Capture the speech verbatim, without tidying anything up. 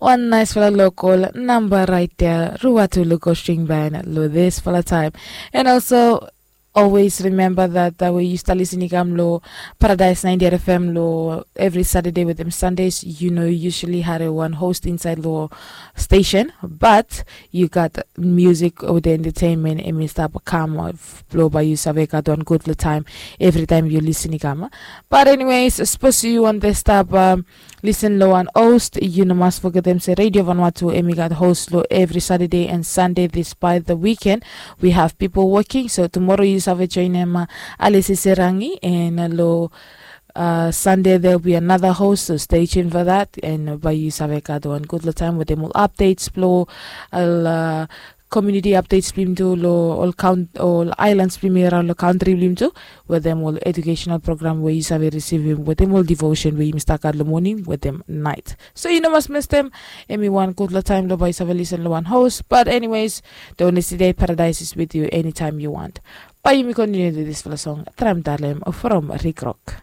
Wan naisfala lokol namba rait ya, Ruatu Luko String Band, lo disfala taim. And also, always remember that uh, we used to listen i kam lo Paradise ninety F M lo every Saturday with them Sundays. You know, usually had a one host inside lo station, but you got music or the entertainment and mi stop come off lo by you save got one good lo time every time you listen i kam. But anyways, suppose you want to stop um, listen lo wan host, you no mas fogetem se Radio Vanuatu emi gat host lo every Saturday and Sunday despite the weekend. We have people working, so tomorrow you save join em uh, Alisi Serangi and uh, lo uh, Sunday there'll be another host, so stay tuned for that. And uh, by you save gat one good lo time with them all updates blo uh, community updates blim tu lo all count all islands blim around lo country blim tu with them all educational program where you save receive him with them all devotion where you must start lo morning with them night. So you know must miss them. Emi one good lo time lo by you save listen lo one host. But anyways, the only today paradise is with you anytime you want. By you me continue to this for the song Tram Dalem from Rick Rock.